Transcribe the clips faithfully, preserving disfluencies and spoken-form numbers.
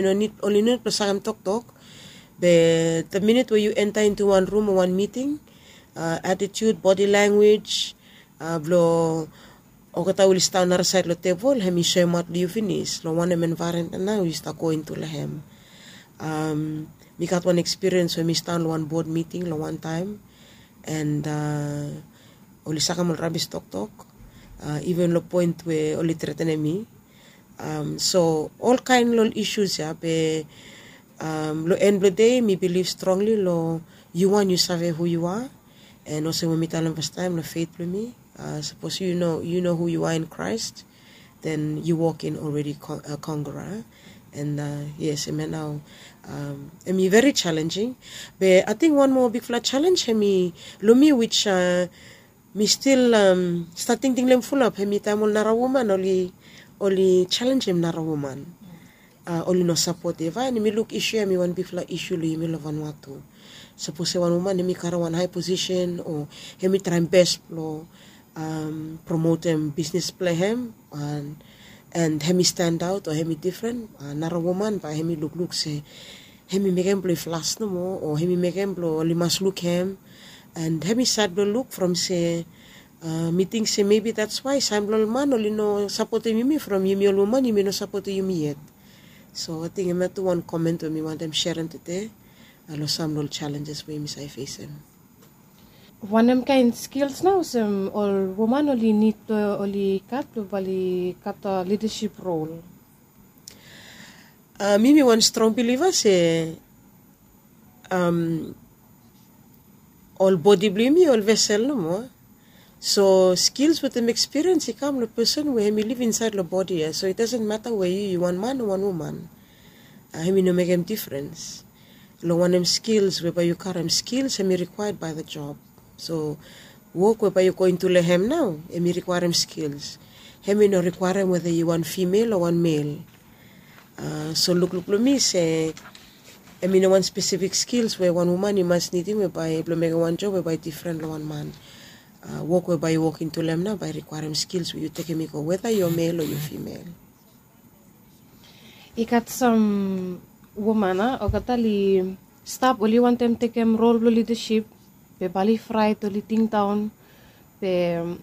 Oli no nid blong sakem toktok. Be the minit we yu enta intu wan rum o wan miting, atitut, bodi languej, blong olgeta we oli stap narasaed long tebol, hem i soemaot long yu finis long wanem envaeronmen nao yu stap go intu long hem. Mi gat wan ekspiriens we mi stap long wan bod miting long wantaem, and oli sakem ol rabis toktok, iven long poen we oli tretenem mi. So olkaen long ol isus ya, be long en blong dei mi bilif strongli long yu wan yu save hu yu are. And olsem we mi talem fastaem long fet blong mi, sapos yu no yu no hu yu are in Christ, then yu wokin already conqueror. And yes, hemia nao, hemi veri challenging. Be ating wan moa bigfala challenge hemi long mi, which mi stil stap tingting long hem fulap, hemi taem ol nara woman oli challenjem nara woman. Oli no sapotem. And mi luk isu ya hemi wan bigfala isu long yumi long Vanuatu. Sapos se wan woman hemi karem wan hae posisen o hemi traem bes blong promotem bisnis blong hem, and hemi stendaot o hemi difren, nara woman bae hemi lukluk se hemi mekem blong i flas nomo o hemi mekem blong oli mas luk hem. And hemi sad blong luk from se mi ting se mebi that's why sam blong ol man oli no sapotem yumi from yumi ol woman yumi no sapotem yumi yet. So ating hemia tu wan komen we mi wantem serem tede long sam long ol challenges we yumi save fesem. Wanem kaen skils nao olsem ol woman oli nid blong oli gat blong bae oli gat lidasip rol? Mi mi wan strong biliva se ol bodi blong yumi ol vesel nomo. So skils wetem ekspiriens i kam long pesen we hemi liv insaed long bodi ya. So it dasen mata we yu yu wan man o wan woman, hemi no mekem difrens long wanem skils we bae yu karem. Skils hemi rikwaed bae the job. So wok we bae yu go intu long hem nao hemi rikwaerem skils. Hemi no rikwaerem weda yu wan fimel o wan mel. So lukluk blong mi se hemi no wan spesifik skils we wan woman i mas nidim we bae blong mekem wan job we bae difren long wan man. Wok we bae yu wok intu long hem nao bae rikwaerem skils we yu tekem i go weda yu mel o yu fimel. I gat sam woman a olgeta oli stap oli wantem tekem rol blong lidasip, be bae oli fraet oli tingdaon. Be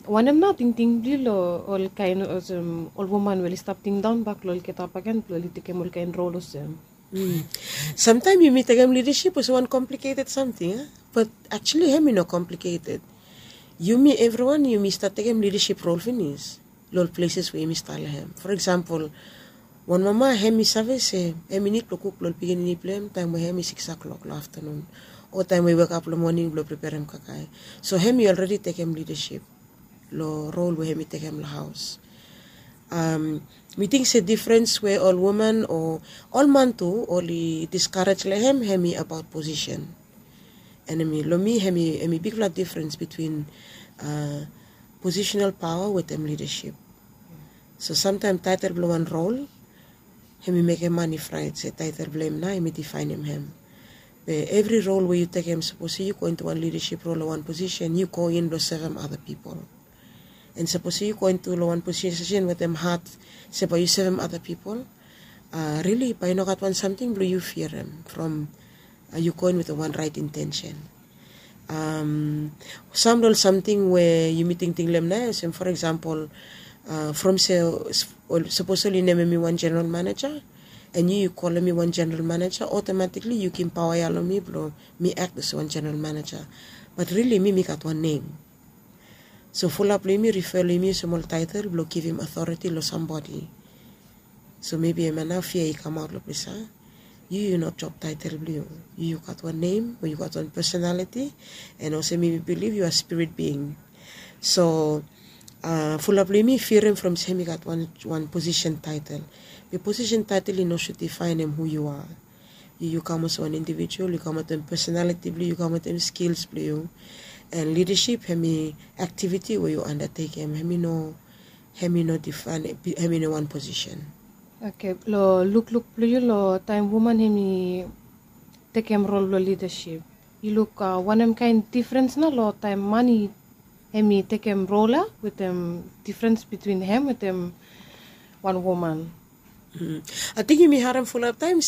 wanem nao tingting blong yu long olkaen olsem ol woman we oli stap tingdaon bak long olgeta bakegen blong oli tekem olkaen rol olsem? Samtaem yumi tekem lidasip olsem wan kompliketed samting a, bat aksuali hemi no kompliketed. Yumi evriwan yumi stap tekem lidasip rol finis long ol pleses we yumi stap long hem. For eksampol, wan mama hemi save se hemi nid blong kuk long ol pikinini blong hem taem we hemi sikis klok long aftanun o taem we i wekap long moning blong preperem kakae. So hemi olredi tekem lidasip long rol we hemi tekem long haos. Mi ting se difrens we ol woman o ol man tu oli diskarej long hem hemi abaot posisen. And hemi long mi hemi bigfala difrens bitwin posisenal paoa wetem lidasip. So samtaem taetel blong wan rol hemi mekem man i fraet se taetel blong hem nao hemi difaenem hem. Be evri rol we yu tekem, sapos yu go intu wan lidasip rol o wan posisen yu go in blong sevem ada pipol. And sapos yu go intu long wan posisen wetem hat se bae yu sevem ada pipol, rili bae i no gat wan samting blong yu fiarem from yu go in wetem wan raet intensen. Sam long ol samting we yumi tingting long hem nao olsem for eksampol, from se sapos oli nemem mi wan jeneral maneja and yu yu kolem mi wan jeneral maneja, otomatikli yu givim paoa ya long mi blong mi act olsem wan jeneral maneja. Bat rili mi mi gat wan nem. So fulap blong yumi rifa long yumi olsem ol taetel blong givim otoreti long sambodi. So mebi hemia nao fia i kamaot long ples ya. Yu yu no job taetel blong yu. Yu yu gat wan nem o yu gat wan personaliti. And olsem yumi bilif yu are spirit being. So fulap blong yumi fiarem from se hemi gat wan posisen taetel. Be posisen taetel i no sud difaenem hu yu are. Yu yu kam olsem wan indivijual, yu kam wetem personaliti blong yu, yu kam wetem skils blong yu. And lidasip hemi aktiviti we yu andatekem, hemi no hemi no difaen, hemi no wan posisen. Oke, long lukluk blong yu long taem woman hemi tekem rol blong lidasip, yu luk wanem kaen difrens nao long taem man i hemi tekem rol ya wetem difrens bitwin hem wetem wan woman? Ating yumi harem fulap taem